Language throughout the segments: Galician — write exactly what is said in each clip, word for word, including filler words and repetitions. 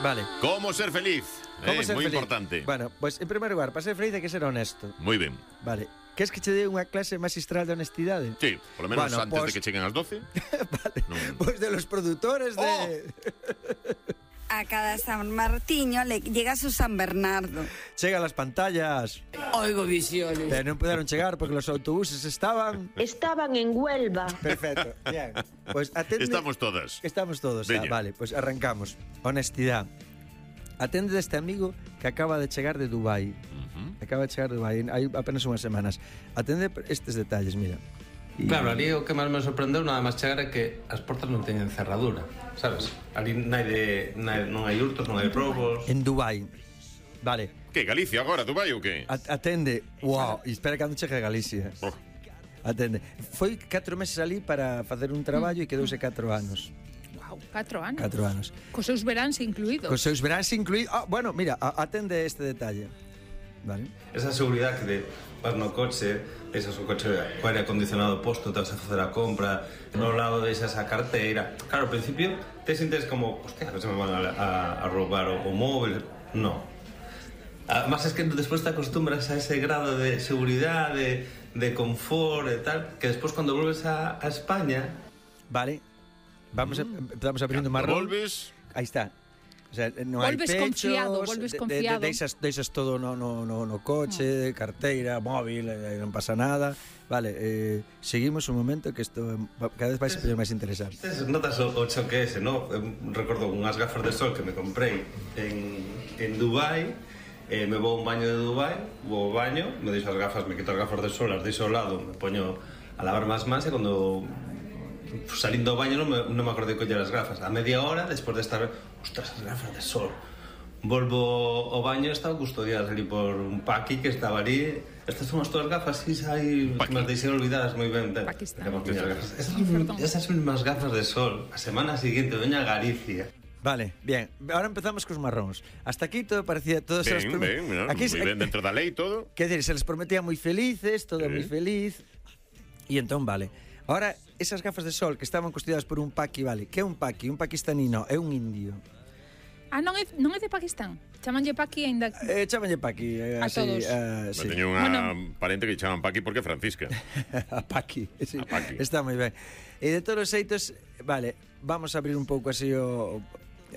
Vale. ¿Cómo ser feliz? ¿Cómo eh, ser muy feliz? importante. Bueno, pues en primer lugar, para ser feliz hai que ser honesto. Muy bien. Vale. Queres que che dé unha clase magistral de honestidade? Sí, por lo menos Bueno, antes pues- de que lleguen las doce. Vale. No. Pues de los productores de... Oh. A cada San Martiño le llega su San Bernardo. Chega las pantallas. Oigo visiones. Pero non puderon chegar porque los autobuses estaban... Estaban en Huelva. Perfecto. Bien. Pues atende... Estamos todas. Estamos todos. Veña. Ah, vale, pues arrancamos. Honestidad. Atende este amigo que acaba de chegar de Dubai. Ujú. Acaba de chegar de Dubai, hai apenas unhas semanas. Atende estes detalles, mira. Y- Claro, ali o que máis me sorprendeu nada máis chegar é que as portas non teñen cerradura, sabes? Ali non hai, de, non hai, non hai hurtos, non hai robos. En Dubai. Vale. ¿Qué, Galicia agora, Dubai ou qué? At- atende. Wow, e espera cando chegue a Galicia. Oh. Atende. Foi catro meses ali para facer un traballo e quedouse catro anos. Wow, catro anos. Catro anos. Cos seus veráns incluídos. Cos seus veráns incluídos. Ah, bueno, mira, a- atende este detalle. Vale. Esa seguridade que de vas no coche, deixas o coche co aire acondicionado posto, te vas a facer a compra, no lado deixas a carteira. Claro, ao principio te sientes como, hostia, a ver se me van a, a, a roubar o, o móvil. No. Además es que despois te acostumbras a ese grado de seguridade, de, de confort e tal, que despois cando volves a, a España... Vale. Vamos a, empezamos abrindo Cando marrón. volves, Aí está. O sea, non hai Volves pechos, confiado, volves de- de- confiado. De, deixas, deixas todo no, no, no, no coche, carteira, móvil, eh, non pasa nada. Vale, eh, seguimos un momento que isto va- cada vez vai ser máis interesante. Tes, notas o, o choque ese, ¿no? Eu recordo unhas gafas de sol que me comprei en, en Dubai, eh, me vou a un baño de Dubai, vou ao baño, me deixo as gafas, me quito as gafas de sol, as deixo ao lado, me poño a lavar máis máis e cando salindo do baño non me, non me acordei de coller as gafas. A media hora, despois de estar, ostras, as gafas de sol. Volvo ao baño e estaba custodiadas ali por un paqui que estaba ali. Estas son as túas gafas, si hai que me deixei olvidadas moi ben. Paquistán. Esas, Perdón. esas mismas gafas de sol, a semana seguinte veña a Galicia. Vale, bien. Ahora empezamos cos marróns. Hasta aquí todo parecía todos ben, os ben, no, aquí moi ben dentro da lei todo. Quer dizer, se les prometía moi felices, todo Sí. moi feliz. E entón, vale. Ahora, esas gafas de sol que estaban custodiadas por un paqui, vale. Que é un paqui? Un paquistanino, é un indio. Ah, non é, non é de Pakistán. Chamanlle Paqui aínda... Eh, chámanlle paqui. Eh, A así, todos. eh, Sí. sí. Teño unha Bueno. parente que chaman Paqui porque é Francisca. A Paqui, sí. A Paqui. Está moi ben. E de todos os xeitos, vale, vamos a abrir un pouco así o,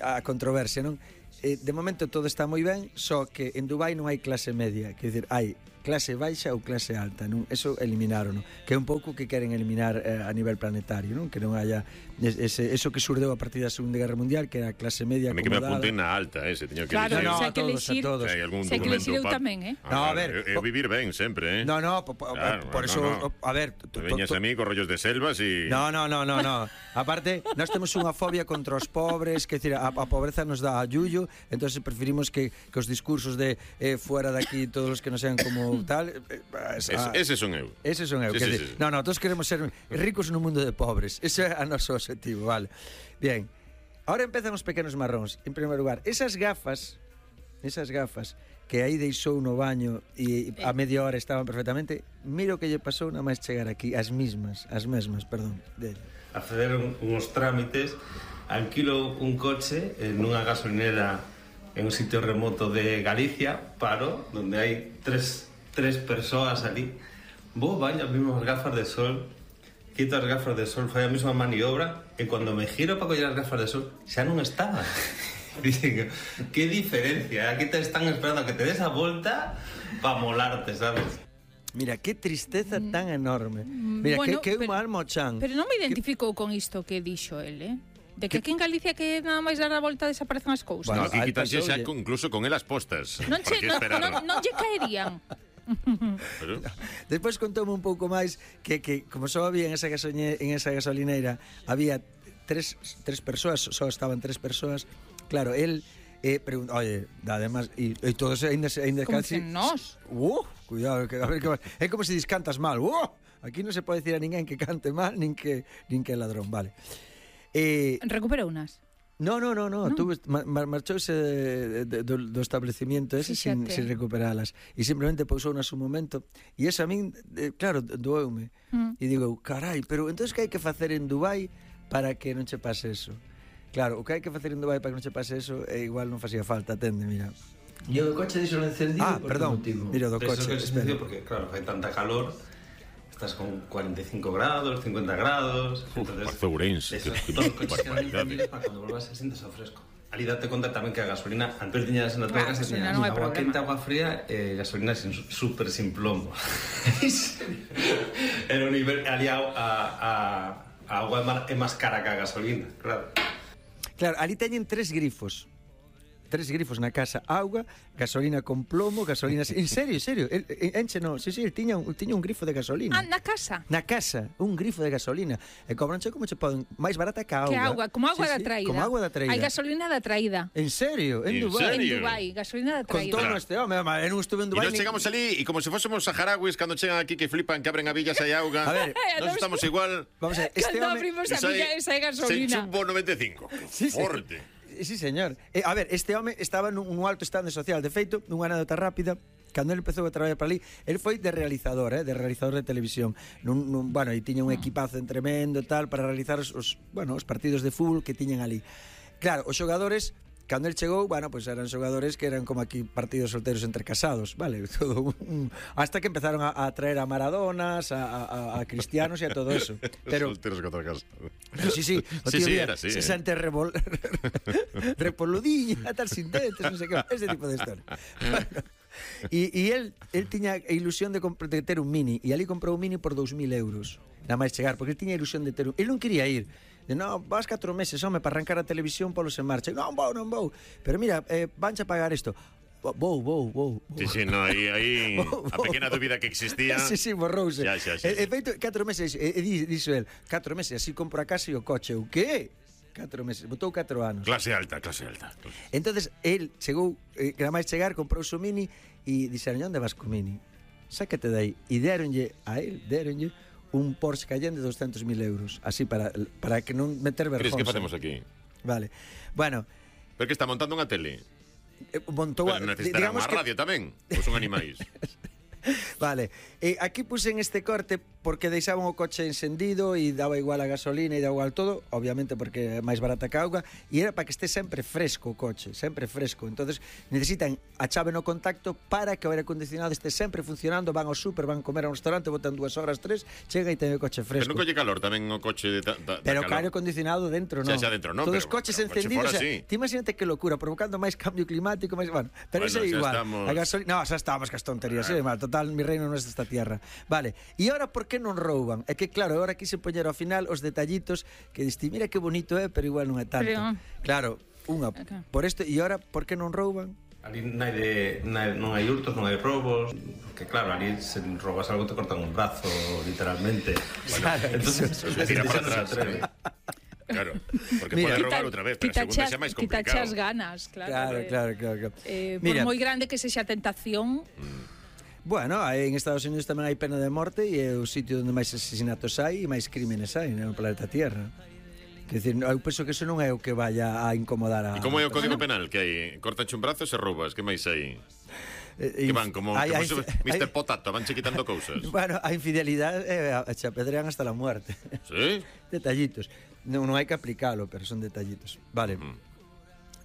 a controversia, non? Eh, de momento todo está moi ben, só que en Dubai non hai clase media, quer dizer, hai clase baixa ou clase alta, non? Eso eliminaron, non? Que é un pouco que queren eliminar eh, a nivel planetario, non? Que non haya ese, eso que surdeu a partir da Segunda Guerra Mundial, que era a clase media A mí que me acomodada. apunten na alta, ese, teño que Claro, elegir. no, se hai que a todos, elixir... a todos. Se hai algún Se hai que documento elixir eu pa- tamén, eh? Ah, No, a claro, ver, eu, eu po- vivir ben sempre, eh? No, no, po, po, Claro, por no, eso, no. a ver, to- Te to- veñas to- a mí con rollos de selvas e... No, no, no, no, no. Aparte, nós temos unha fobia contra os pobres, que decir, a, a pobreza nos dá a yuyo, entonces preferimos que, que os discursos de eh, fuera de aquí todos os que non sean como tal, eh, Es, ah, ese son eu. ese son eu, Sí, que sí, decir, sí. no, no, todos queremos ser ricos nun mundo de pobres. Ese é a noso objetivo, vale. Bien. Ahora empezamos pequenos marróns. En primeiro lugar, esas gafas, esas gafas que aí deixou no baño e a media hora estaban perfectamente, miro que lle pasou nada máis chegar aquí, as mismas, as mesmas, perdón, dele. A facer un, uns trámites, alquilo un coche en unha gasolinera en un sitio remoto de Galicia, paro, donde hai tres, tres persoas ali, vou baño as mismas gafas de sol, quito as gafas de sol, fai a mesma maniobra, e cando me giro para coller as gafas de sol, xa non estaban. Dicen, que diferencia, aquí te están esperando a que te des a volta para molarte, sabes? Mira, que tristeza tan enorme. Mira, Bueno, que, que pero- un almo chan. Pero non me identificou con isto que dixo el, eh? De que aquí en Galicia que nada máis dar a volta desaparecen as cousas. No, Bueno, aquí aí quitanse xa pasoulle. con, incluso con elas postas. non, che, Para que non, esperar. non, non lle caerían. Pero, Despois contoume un pouco máis que, que como só había en esa, gasoline, en esa gasolineira había tres, tres persoas, só estaban tres persoas. Claro, él eh, pregunta, oye, además, e, e todos ainda, ainda Como casi... dicen nós. Uh, cuidado, que, a ver que va- é como se dis cantas mal. Uh, aquí non se pode dicir a ninguén que cante mal, nin que, nin que é ladrón, vale. Eh, Recuperou unas. No, no, no, no, tuve, mar, marchouse de, de, do, do establecimiento ese sin, Fíxate. sin recuperalas e simplemente pousou nas un momento e eso a min, eh, claro, doeume Mm. e digo, carai, pero entonces que hai que facer en Dubai para que non che pase eso? Claro, o que hai que facer en Dubai para que non se pase eso, é igual non facía falta, atende, mira. E o do coche dixo encendido. Ah, perdón, mira o do coche, espera. Porque, claro, fai tanta calor, estás con cuarenta y cinco grados, cincuenta grados... Parece Ourense. Todos os coches quedan encendidos para cando volvas a sientes ao fresco. Ali date conta tamén que a gasolina, antes tiñas na tua casa, tiñas agua quente, agua fría, e gasolina super sin plomo. Era un nivel, ali a, a, a agua é máis cara que a gasolina, claro. Claro, ali teñen tres grifos. Tres grifos na casa, auga, gasolina con plomo, gasolina... En serio, en serio, el, enche no, sí, sí, el tiña un, tiña un grifo de gasolina. Ah, na casa? Na casa, un grifo de gasolina. E cobranche como che poden, máis barata que a auga. Que auga, como agua sí, da traída. Sí, como agua da traída. Hai gasolina da traída. En serio, en, en Dubai. Serio? En Dubai, gasolina da Con traída. todo claro. Este home, eu non estuve en Dubai. E nos chegamos ali e como se fósemos saharauis cando chegan aquí que flipan que abren a villas hai auga. A ver, nos estamos igual. Vamos a ver, este cando home... abrimos a villa esa é gasolina. Sen chumbo noventa e cinco. Sí, forte. Sí, sí, señor. Eh, a ver, este home estaba nun, nun alto estado social. De feito, nunha anécdota rápida, cando ele empezou a traballar para ali, ele foi de realizador, eh, de realizador de televisión. Nun, nun, bueno, e tiña un equipazo en tremendo tal para realizar os, os, bueno, os partidos de fútbol que tiñan ali. Claro, os xogadores, cando el chegou, bueno, pues eran xogadores que eran como aquí partidos solteros entre casados, vale? Todo un, hasta que empezaron a, a traer a Maradonas, a, a, a Cristianos e a todo eso. Pero solteros contra casados. Pero sí, sí, o sí, tío sí, día, era así, se eh. sente revol... repoludilla, tal sin dentes, non sei que, ese tipo de historia. Bueno, e, e el, el tiña a ilusión de, de ter un Mini, e ali comprou un Mini por dous mil euros, nada máis chegar, porque el tiña a ilusión de ter un... El non quería ir, de no, vas catro meses, home, para arrancar a televisión polos en marcha. Non vou, non vou. Pero mira, eh, vanche a pagar isto. Vou, vou, vou. Sí, sí, no, aí, aí a pequena dúbida que existía. Sí, sí, borrouse. Xa, xa, xa. E, e feito, catro meses, e, e dixo el, catro meses, así compro a casa e o coche. O que? Catro meses, botou catro anos. Clase alta, clase alta. Entonces, el chegou, eh, que máis chegar, comprou o Mini e dixeron, onde vas co Mini? Sácate dai. E deronlle a el, deronlle un Porsche Cayenne de doscientos mil euros, así para, para que non meter vergonza. Cris, que facemos aquí? Vale, bueno. Pero que está montando unha tele? Eh, montou Pero necesitará unha que... radio tamén, ou son animais? Vale, eh, aquí pusen este corte porque deixaban o coche encendido e daba igual a gasolina e daba igual todo, obviamente porque é máis barata que a auga, e era para que este sempre fresco o coche, sempre fresco. Entonces necesitan a chave no contacto para que o aire acondicionado este sempre funcionando, van ao súper, van comer a un restaurante, botan dúas horas, tres, chega e ten o coche fresco. Pero non colle calor tamén o coche de ta, ta, pero calor. aire acondicionado dentro non. Xa, xa dentro non, todos pero, os coches pero encendidos, o sea, sí. ti imagínate que locura, provocando máis cambio climático, máis, bueno, pero bueno, eso é igual. Estamos... A gasolina, no, xa estamos cas tonterías, ah. eh, total, mi reino non é esta tierra. Vale, e ahora por que non rouban? É que claro, agora quise poñer ao final os detallitos que diste, mira que bonito é, pero igual non é tanto. Pero... Claro, unha okay. Por isto, e ahora por que non rouban? Ali non hai, de, non hai, non hai hurtos, non hai robos, que claro, ali se robas algo te cortan un brazo, literalmente. Bueno, claro, entonces, se tira para atrás. Claro, porque mira, pode robar outra vez, pero a segunda xa máis complicado. Ti tachas ganas, claro. Claro, de, claro, claro, claro. Eh, mira, por moi grande que sexa a tentación... Mm. Bueno, en Estados Unidos tamén hai pena de morte e é o sitio onde máis asesinatos hai e máis crímenes hai no planeta Tierra. Quer dizer, eu penso que eso non é o que vaya a incomodar a... E como é o Código Penal? Que hai? Cortanche un brazo e se roubas, que máis hai? Eh, que van como, hay, como hay, mister Hay, Potato, van che quitando cousas. Bueno, a infidelidade eh, che apedrean hasta la muerte. Sí? Detallitos. Non, non hai que aplicalo, pero son detallitos. Vale. Uh-huh.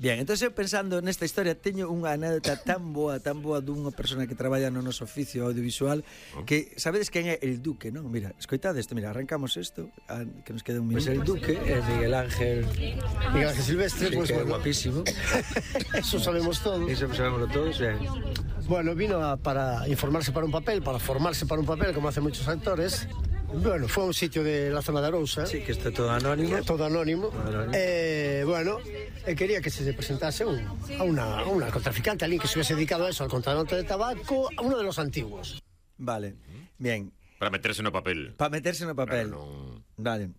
Bien, entonces eu pensando nesta historia teño unha anécdota tan boa, tan boa dunha persona que traballa no noso oficio audiovisual oh. que sabedes quen é el Duque, non? Mira, escoitade isto, mira, arrancamos isto, a, que nos queda un minuto. Pois pues el Duque é Miguel Ángel Miguel Ángel Silvestre, sí, pues, que bueno, é guapísimo. Eso sabemos todos. Eso sabemos todos, ben. Bueno, vino a, para informarse para un papel, para formarse para un papel, como hacen muchos actores. Bueno, fue a un sitio de la zona de Arousa. Sí, que está todo anónimo. Todo anónimo. anónimo. Eh, bueno, eh, quería que se presentase un, a, una, a una contraficante, alguien que se hubiese dedicado a eso, al contrabando de tabaco, a uno de los antiguos. Vale, bien. Para meterse no papel. Para meterse no papel. Claro, no... Vale.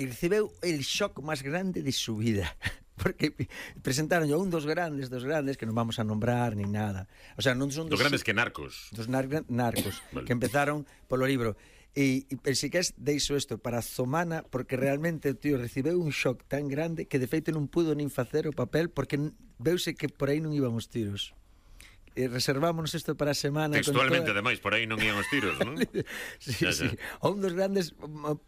E recebeu el shock máis grande de su vida. Porque presentaron a un dos grandes, dos grandes, que non vamos a nombrar ni nada. O sea, non son dos... Dos grandes que narcos. Dos nar narcos, vale. Que empezaron polo libro. E, e pensei que deixo isto para Zomana, porque realmente o tío recibeu un shock tan grande que de feito non pudo nin facer o papel porque veuse que por aí non iban os tiros. E reservámonos isto para a semana. Textualmente, toda... ademais, por aí non iban os tiros, non? sí, ya, sí. Ya. O un dos grandes,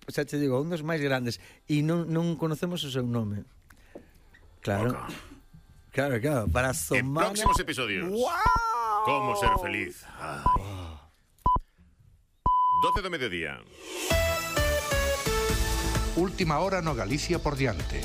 xa te digo, un dos máis grandes, e non, non conocemos o seu nome. Claro. Boca. Claro, claro, para En somar... próximos episodios. ¡Wow! Cómo ser feliz. Ay. doce do mediodía. Última hora no Galicia por diante.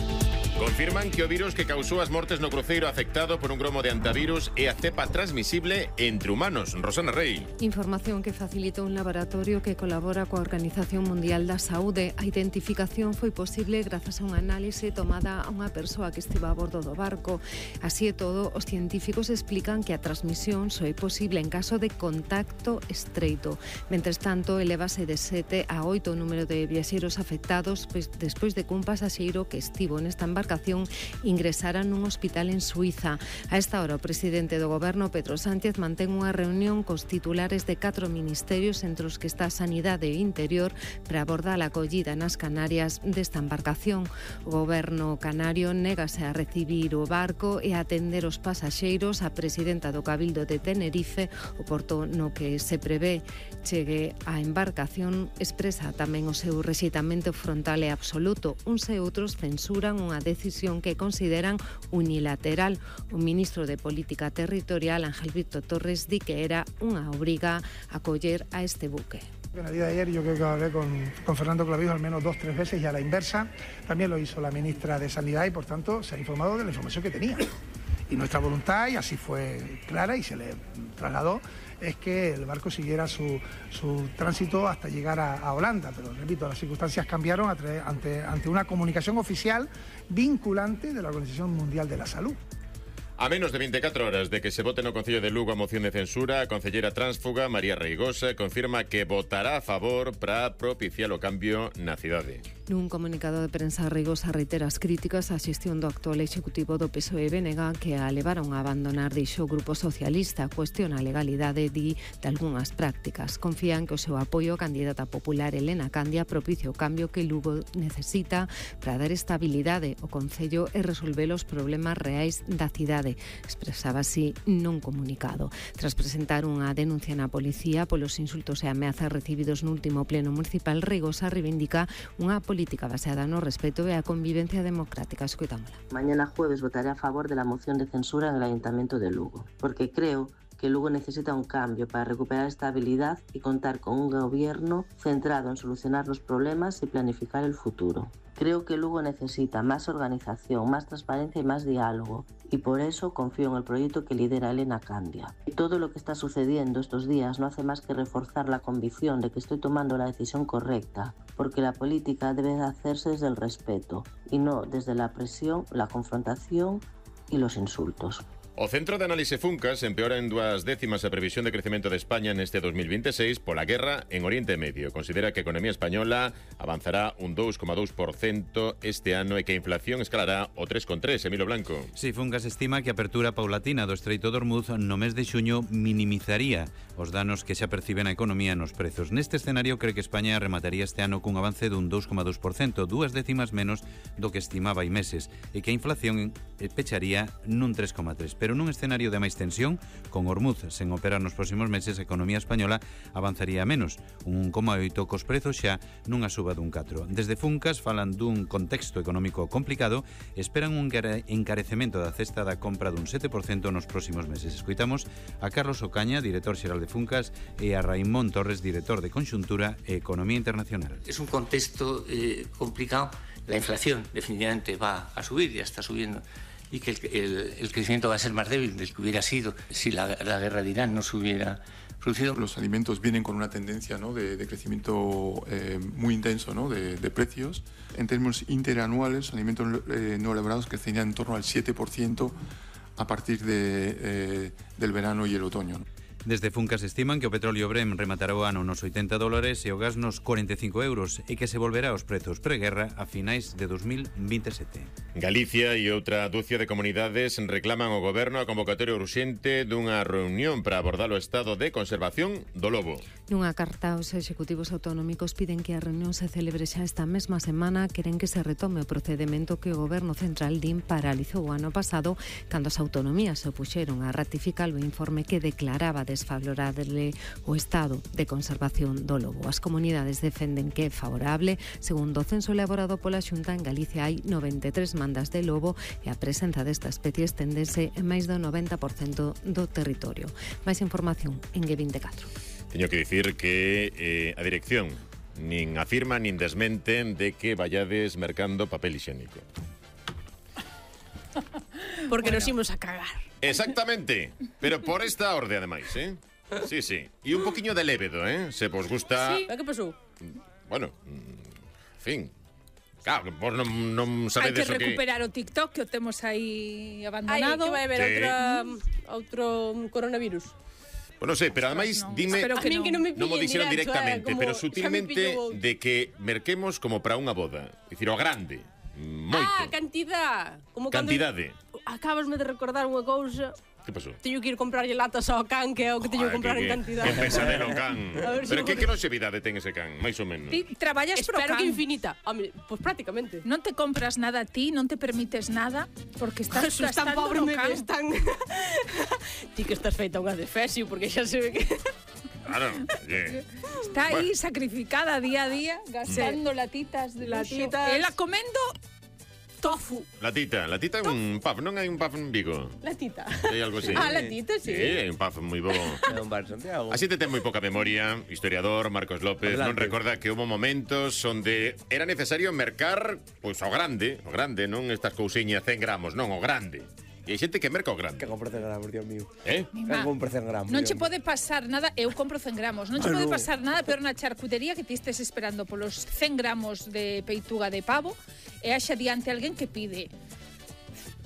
Confirman que o virus que causou as mortes no cruceiro afectado por un gromo de antivirus é a cepa transmisible entre humanos. Rosana Rey. Información que facilita un laboratorio que colabora coa Organización Mundial da Saúde. A identificación foi posible grazas a unha análise tomada a unha persoa que estiva a bordo do barco. Así e todo, os científicos explican que a transmisión só é posible en caso de contacto estreito. Mentres tanto, elevase de sete a oito o número de viaxeiros afectados pois, despois de que un pasaxeiro que estivo nesta embarcación ingresara nun hospital en Suiza. A esta hora, o presidente do goberno, Pedro Sánchez, mantén unha reunión cos titulares de catro ministerios, entre os que está Sanidade e Interior, para abordar a acollida nas Canarias desta embarcación. O goberno canario négase a recibir o barco e a atender os pasaxeiros. A presidenta do Cabildo de Tenerife, o porto no que se prevé chegue a embarcación, expresa tamén o seu rexeitamento frontal e absoluto. Uns e outros censuran unha decisión que consideran unilateral. O ministro de Política Territorial, Ángel Víctor Torres, di que era unha obriga acoller a este buque. En el día de ayer yo creo que hablé con, con Fernando Clavijo al menos dos, tres veces y a la inversa. También lo hizo la ministra de Sanidad y por tanto se ha informado de la información que tenía. Y nuestra voluntad, y así fue clara y se le trasladó, es que el barco siguiera su, su tránsito hasta llegar a, a Holanda. Pero repito, las circunstancias cambiaron ante, ante, ante una comunicación oficial vinculante de la Organización Mundial de la Salud. A menos de veinticuatro horas de que se vote no Concello de Lugo a moción de censura, a concelleira tránsfuga María Reigosa confirma que votará a favor para propiciar o cambio na cidade. Nun comunicado de prensa, Reigosa reitera as críticas á xestión do actual executivo do P S O E B N G que a levaron a abandonar, dixo o Grupo Socialista, cuestiona a legalidade di de algunhas prácticas. Confían que o seu apoio á candidata popular Elena Candia propicia o cambio que Lugo necesita para dar estabilidade ao Concello e resolver os problemas reais da cidade. Expresaba así nun comunicado. Tras presentar unha denuncia na policía polos insultos e ameazas recibidos no último pleno municipal, Reigosa reivindica unha política baseada no respeto e a convivencia democrática. Escoitámola. Mañana jueves votaré a favor de la moción de censura en el Ayuntamiento de Lugo, porque creo que Lugo necesita un cambio para recuperar estabilidad y contar con un gobierno centrado en solucionar los problemas y planificar el futuro. Creo que Lugo necesita más organización, más transparencia y más diálogo, y por eso confío en el proyecto que lidera Elena Candia. Y todo lo que está sucediendo estos días no hace más que reforzar la convicción de que estoy tomando la decisión correcta, porque la política debe de hacerse desde el respeto y no desde la presión, la confrontación y los insultos. O Centro de Análise Funcas empeora en dúas décimas a previsión de crecemento de España neste dos mil veintiséis pola guerra en Oriente Medio. Considera que a economía española avanzará un dous coma dous por cento este ano e que a inflación escalará o tres coma tres. Emilio Blanco. Si, Funcas estima que a apertura paulatina do Estreito de Ormuz no mes de xuño minimizaría os danos que xa perciben a economía nos prezos. Neste escenario cree que España remataría este ano cun avance dun dous coma dous por cento, dúas décimas menos do que estimaba hai meses, e que a inflación pecharía nun tres coma tres. Pero nun escenario de máis tensión, con Ormuz sen operar nos próximos meses, a economía española avanzaría menos, un un coma oito cos prezos xa nunha suba dun catro. Desde Funcas falan dun contexto económico complicado, esperan un encarecemento da cesta da compra dun sete por cento nos próximos meses. Escoitamos a Carlos Ocaña, director xeral de Funcas, e a Raimón Torres, director de Conxuntura e Economía Internacional. Es un contexto eh, complicado. La inflación definitivamente va a subir, ya está subiendo, y que el, el, el crecimiento va a ser más débil del que hubiera sido si la, la guerra de Irán no se hubiera producido. Los alimentos vienen con una tendencia, ¿no?, de, de crecimiento eh, muy intenso, ¿no?, de, de precios. En términos interanuales, alimentos eh, no elaborados crecerían en torno al siete por ciento a partir de, eh, del verano y el otoño, ¿no? Desde Funcas estiman que o petróleo Brent rematará o ano nos oitenta dólares e o gas nos cuarenta e cinco euros e que se volverá aos prezos preguerra a finais de dos mil veintisiete. Galicia e outra dúcia de comunidades reclaman ao goberno a convocatoria urxente dunha reunión para abordar o estado de conservación do lobo. Nunha carta aos executivos autonómicos piden que a reunión se celebre xa esta mesma semana. Queren que se retome o procedemento que o goberno central din paralizou o ano pasado cando as autonomías se opuxeron a ratificar o informe que declaraba desfavorable o estado de conservación do lobo. As comunidades defenden que é favorable. Segundo o censo elaborado pola Xunta, en Galicia hai noventa e tres mandas de lobo e a presenza desta especie esténdese en máis do noventa por cento do territorio. Máis información en G veinticuatro. Teño que dicir que eh, a dirección nin afirma nin desmenten de que vayades mercando papel higiénico. Porque bueno, nos imos a cagar. Exactamente, pero por esta orde ademais, eh? Sí, sí. E un poquiño de lévedo, eh? Se vos gusta... Sí, que pasou? Bueno, en fin... Claro, vos non, non sabedes o que... Hai que recuperar o TikTok que o temos aí abandonado. Ai, que vai haber sí. outra, outro coronavirus. Bueno, sei, pero ademais no. dime, Espero que non, que non me non mo dixeron directo, directamente, eh, pero sutilmente pillo... de que merquemos como para unha boda. Dicir, o grande, moito. Ah, cantidad. Como Cantidade. Cando... Acabasme de recordar unha cousa. Que pasou? Teño que ir comprarlle latas ao can, que é o que teño que comprar que, en cantidad. Que pesadelo can. Pero si que, que longevidade ten ese can, máis ou menos? Ti traballas pro Espero can. que infinita. Home, pois pues prácticamente. Non te compras nada a ti, non te permites nada, porque estás Jesús, tan gastando pobre no me can. ves, tan... Ti que estás feita unha defesio, porque xa se ve que... Claro, oye. Está aí sacrificada día a día, gastando sí. latitas de latitas. Ela comendo tofu. Latita, latita é un pub, non hai un pub en Vigo. Latita. Hai algo así. Ah, latita, sí. Sí, hai un pub moi bo. É un bar Santiago. Así te ten moi poca memoria, historiador Marcos López, Adelante. non recorda que houve momentos onde era necesario mercar, pois, ao grande, o grande, non estas cousiñas cen gramos, non, o grande. E hai xente que merca o grande. Que compro cen gramos, Dios mío. Eh? Que compro cen gramos. Non che pode pasar nada, eu compro cen gramos, non che Ah, pode no. pasar nada peor na charcutería que ti estés esperando polos cen gramos de peituga de pavo e haxa diante alguén que pide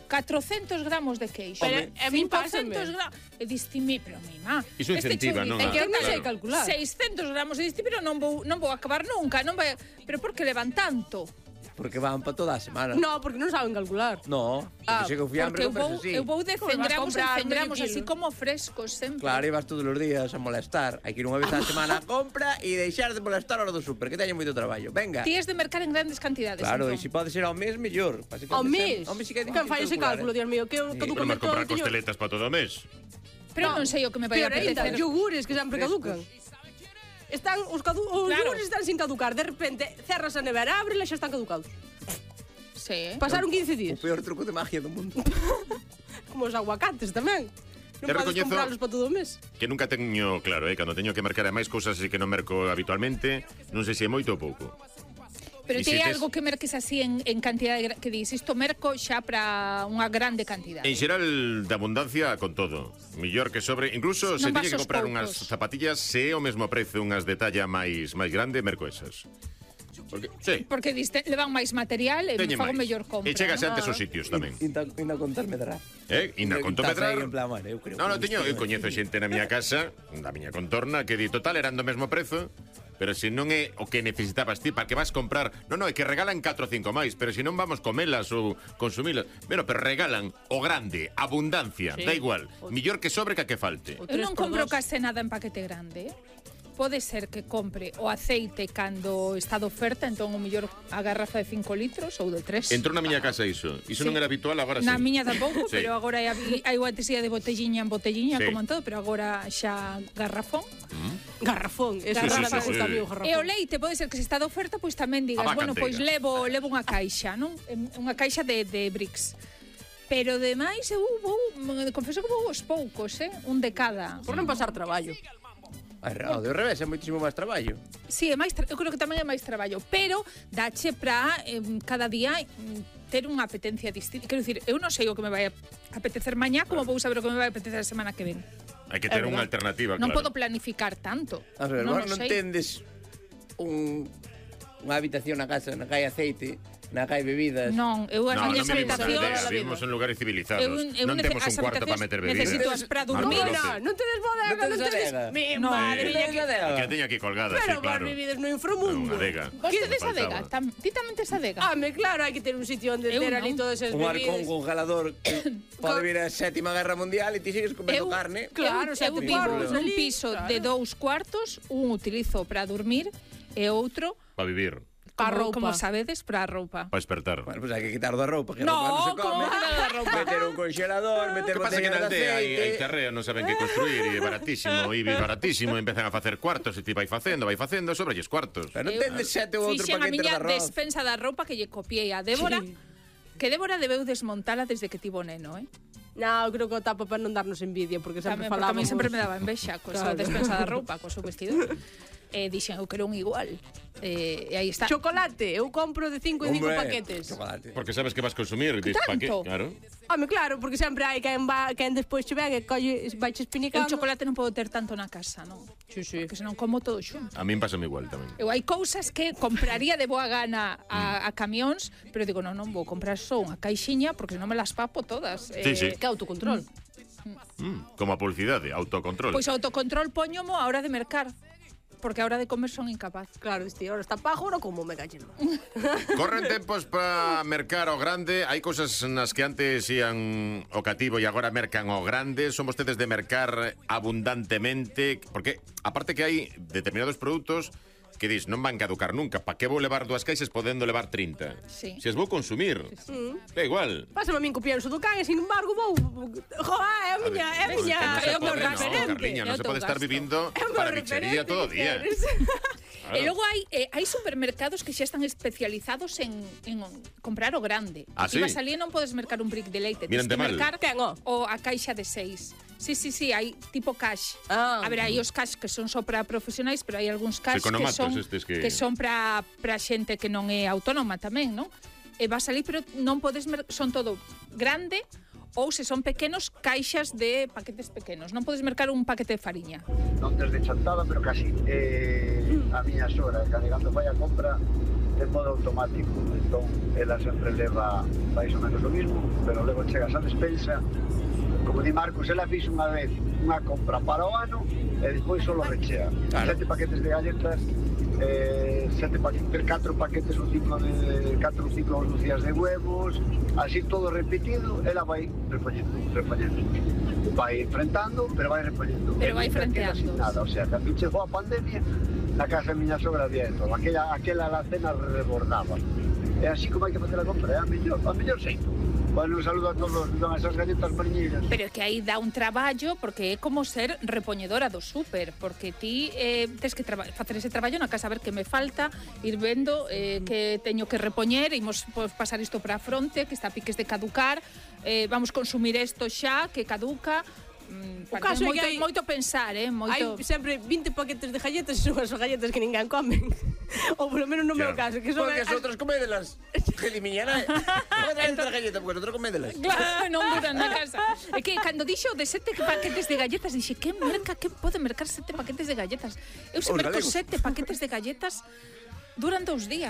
catrocentos gramos de queixo. Pero a min pásame. cincocentos gramos. E distime, pero mi má. Iso incentiva, non? É que eu non sei Claro. calcular. seiscentos gramos e distime, pero non vou, non vou acabar nunca, non vai... Pero por que levan tanto? Porque van para toda a semana. No, porque non saben calcular. No, Ah, porque se que fui hambre Porque eu vou, compras así. eu vou de Como cen vas gramos en comprar cen medio gramos, kilo? así como frescos sempre. Claro, ibas todos os días a molestar. Hai que ir unha vez á semana a compra e deixar de molestar a hora do súper, que teñen moito traballo. Venga. Ti es de mercar en grandes cantidades. Claro, e entón. se pode ser ao mes, mellor. Ao mes? Ao mes sí que é Quen difícil fai ese calcular, cálculo, eh. Dios mío? Que eu Sí. caduco Podemos todo comprar o teño... costeletas para todo o mes. Pero non sei o que me vai a Peor ainda, apetecer. yogures que sempre caducan. Están, os, cadu os Claro. yogures están sin caducar. De repente, cerras a nevera, ábrela e xa están caducados. Sí. Pasaron quince O días. peor truco de magia do mundo. Como os aguacates tamén. Non Te podes recoñezo- comprarlos para todo o mes. Que nunca teño claro, eh, cando teño que mercar a máis cousas así que non merco habitualmente, non sei se é moito ou pouco. Pero E ti si hai tes- algo que merques así en, en cantidad de, gra- que dis, isto merco xa para unha grande cantidad. En xeral, de abundancia con todo. Millor que sobre, incluso se Non tiñe vas que aos comprar poucos. unhas zapatillas, se é o mesmo prezo unhas de talla máis máis grande, merco esas. Porque, sí, Porque diste, levan máis material e teñe fago máis. mellor compra. E chegase ¿no? antes aos sitios tamén. Inda, inda contar medrar. Eh, Ina, con Estás medrar. aí en plan, bueno, eu creo No, no, que teño, eu isto- coñezo xente na miña casa, na miña contorna, que di total eran do mesmo prezo, pero se non é o que necesitabas ti, para que vas comprar, non, non, é que regalan catro ou cinco máis, pero se non vamos comelas ou consumilas, bueno, pero regalan o grande, abundancia, Sí. da igual, millor que sobre que a que falte. O Eu tres non por compro dos. case nada en paquete grande. Pode ser que compre o aceite cando está de oferta, entón o mellor a garrafa de cinco litros ou de tres. Entrou na miña casa iso, iso Sí. non era habitual, agora sí. Na miña tampouco, Sí. pero agora hai, hai unha tesía de botelliña en botelliña, Sí. como en todo, pero agora xa garrafón. Garrafón. Eso Sí, sí, sí, sí, me gusta sí. a mí o garrafón. E o leite pode ser que se está de oferta, pois tamén digas, A vaca bueno, pois enteira. levo levo unha caixa, non? Em, Unha caixa de, de bricks. Pero demais eu vou, confeso que vou aos poucos, eh? Un de cada. Por non pasar traballo. Ai, ao de revés, é moitísimo máis traballo. Sí, é máis, tra- eu creo que tamén é máis traballo, pero dache para eh, cada día mm, ter unha apetencia distinta. Quero dicir, eu non sei o que me vai a apetecer mañá, como vou saber o que me vai a apetecer a semana que ven. Hai que É ter unha verdad. alternativa, Non claro. podo planificar tanto. A ver, non, non, o non sei. tendes un, unha habitación na casa na que hai aceite, na que hai bebidas. Non, eu as No, non miñas vivimos na habitacións... aldea, vivimos en lugares civilizados. Eu, eu non nece- temos un as cuarto para habitacións meter bebidas. necesito as para Marco dormir. López. No, non tedes bodega, Non non tedes tedes... adega. Mi No, madre Non mía, tedes que... adega. Que a teña aquí colgada, Pero sí, vos claro. vivides no inframundo. Unha adega. Vos Que tedes faltaba. adega? Tam, ti tamén tes adega? Ah, me claro, hai que ter un sitio onde Eu ter non. ali todas esas Un arcón bebidas. congelador que pode vir a sétima guerra mundial e ti sigues comendo Eu- carne. Claro, eu, xa eu te vivo cuartos nun ali, piso claro. de dous cuartos, un utilizo para dormir e outro Para vivir. Pa como, roupa. como sabedes, para a roupa. Para despertar. Bueno, pues hai que quitar da roupa, que No, a roupa non se como come. que quitar da roupa? Meter un congelador, meter Que pasa que botella na de aldea hai, hai aceite. terreo, non saben que construir e é baratísimo, e é baratísimo, empezan a facer cuartos e ti vai facendo, vai facendo, sobralles cuartos. Pero non tendes sete ou outro Fixen a paquete de miña arroz. despensa da roupa que lle copiei a Débora, Sí. que Débora debeu desmontala desde que tivo neno, eh? No, creo que o tapa para non darnos envidia, porque sempre Tamén, porque a falábamos... mí sempre me daba envexa co esa Claro. despensa da roupa, co seu vestido. Eh, dixen, eu quero un igual. Eh, e aí está. Chocolate, eu compro de cinco en cinco Hombre, paquetes. Porque sabes que vas consumir, dis, pa que? Tanto? Claro. Home, claro, porque sempre hai quen, va, quen despois che ven e colle, vai che Eu espinicando. chocolate non podo ter tanto na casa, non? Sí, sí. Porque senón como todo xunto. A min pásame igual tamén. Eu hai cousas que compraría de boa gana a, a camións, pero digo, non, non vou comprar só unha caixiña porque non me las papo todas. Sí, sí. Que autocontrol. Mm, como a publicidade, autocontrol. Pois o autocontrol poñomo a hora de mercar, porque a hora de comer son incapaz. Claro, este, ahora está pajo, ahora como me callen. Corren tempos para mercar o grande. Hai cousas nas que antes ían o cativo e agora mercan o grande. Son vostedes de mercar abundantemente, porque aparte que hai determinados produtos que dis, non van caducar nunca. Pa que vou levar dúas caixas podendo levar trinta? Sí. Se as vou consumir, Mm. é igual. Pásame a min copiar o do can e, sin embargo, vou... Joa, é a miña, é a Pois miña... que non se é o meu pode, no, referente. Carliña, non É o se teu pode estar gasto. vivindo É o meu para bichería referente, todo o día. Ceres. Claro. E logo hai eh, hai supermercados que xa están especializados en, en comprar o grande. Ah, Ti sí? vas ali e non podes mercar un brick de leite, tens Mírante que mal. mercar o a caixa de seis. Sí, sí, sí, hai tipo cash. Ah. A ver, hai os cash que son só para profesionais, pero hai algúns cash que Economatos son estes que- que son para para xente que non é autónoma tamén, non? E vas ali, pero non podes mer- son todo grande ou se son pequenos, caixas de paquetes pequenos. Non podes mercar un paquete de fariña. Non desde chantada, pero casi. Eh, a miña sogra, cando vai a compra de modo automático, entón ela sempre leva máis ou menos o mismo, pero logo chegas á despensa, como di Marcos, ela fixo unha vez unha compra para o ano e despois só rechea. Claro. Sete paquetes de galletas, eh, sete paquetes, catro paquetes ou cinco de catro ou cinco lucías de huevos, así todo repetido, ela vai repoñendo, repoñendo. Vai enfrentando, pero vai repoñendo. Pero vai E nunca queda frenteando. sin nada, o sea, cando chegou a pandemia, na casa da miña sogra había de todo. Aquela, aquela alacena rebordaba. É así como hai que facer a compra, é a mellor, a mellor xeito. Bueno, un saludo a todos, don esas galletas mariñeiras. Pero é que aí dá un traballo porque é como ser repoñedora do súper, porque ti eh, tes que traba- facer ese traballo na casa, a ver que me falta, ir vendo eh, que teño que repoñer, imos pues, pasar isto para a fronte, que está a piques de caducar, eh, vamos consumir isto xa, que caduca. Mm, O parece caso é moito, que hai- moito pensar, eh, moito... Hai sempre vinte paquetes de galletas e son as galletas que ninguén come. Ou polo menos no meu caso, que son Porque as- as outras comédelas. Que elimiñará. Non traen outras galletas, porque as outras comédelas. Claro, non duran na casa. É que cando dixo de sete paquetes de galletas, dixe, que merca, que pode mercar sete paquetes de galletas? Eu se Os merco galegos. sete paquetes de galletas duran dous días.